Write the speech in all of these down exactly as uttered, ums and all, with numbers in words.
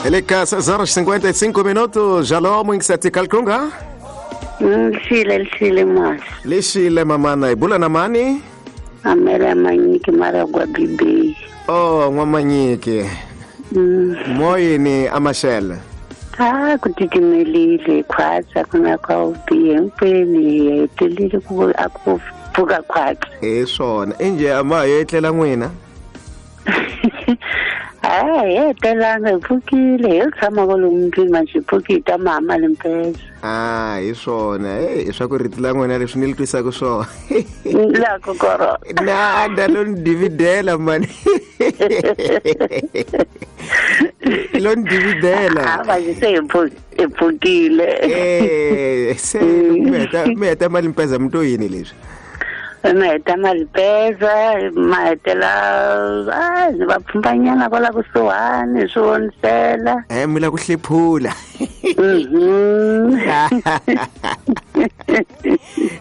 Eleka seis horas e cinquenta e cinco minutos. Alô, Mwingiseti Kalkunga. Lixile, lixile mas. Lixile mamana, ibula na mani? Amela manyiki mara gwa bibi. Oh, ngwamanyiki. Mm. Moyini amashele. Ah, kutikimelile khwatsa kuna kwa ubiye mpeni etelile ku akuvuka khwatsa. Eh swona, inje amayo etlela n'wina. Ah, etelanga ipfukile, hi tshama kwalomu ndlwini manje ipfukile mama limpeza. Ah, hi swona. Eh, swa ku rito la n'wina leswi ni li twisaka swona. La kokoro. Na da lo ni dividela mani. Lo ni dividela. Ah, manje se ipfukile. Eh, se mi heta mi heta mali mpeza mto yini leswi? Ma heta malipeza ma hetela a ni va pfumbanyana kwala kusuhani swi vonisela. Eh mi la ku hlephula. Mhm.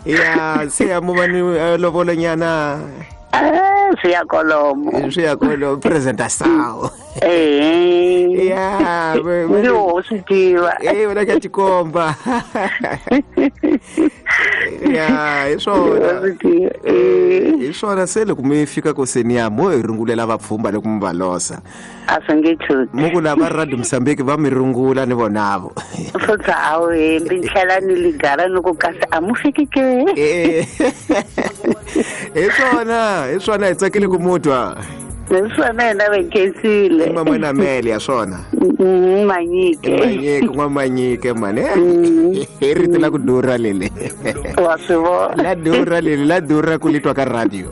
Ya se ya mo va ni lovolonyana. Ah, swi ya kolomo. Swi ya kolomo presentação. Eh. Ya, ni wo swi tiva. Eh, wena ka tikomba. Ya, hi swona. Hi swona se loko mi fika koseni ya mo hi rungulela vapfhumba loko mi va losa. A swi nge chuti. Mo ku lava Radio Mozambique va mi rungula ni vonavo. Futhi a wu hembi ni tlhela ni ligara ni ku kasi a mu fiki ke. Eh. Hi swona, hi swona hi tsakile ku mu twa. Hi swona hina va khensile. Mama na Mele ya swona. Manyike. Manyike, n'wa manyike mani. Hi rito la ku durha leli. Wa swi vona. La durha leli, la durha ku li twa ka radio.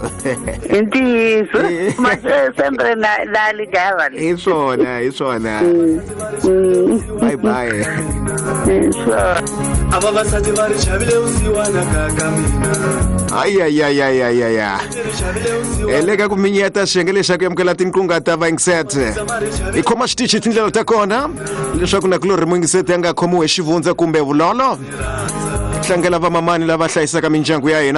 I ntiyiso. Manje sempre na na ligara. Hi swona, hi swona. Bye bye. Hi swona. Aba basadi ba re chabile usiwana ka mina. Ay ay ay ay ay ay. Eleka ku minyeta xenge lexaku yamukela tinqunga ta Vangset. I khoma xitichi tindlela ta kona leswaku na kulori Mwingiseti a nga khomiwi hi xivundza kumbe vulolo. Tlangela vamamani lava hlayisaka mindyangu ya hina.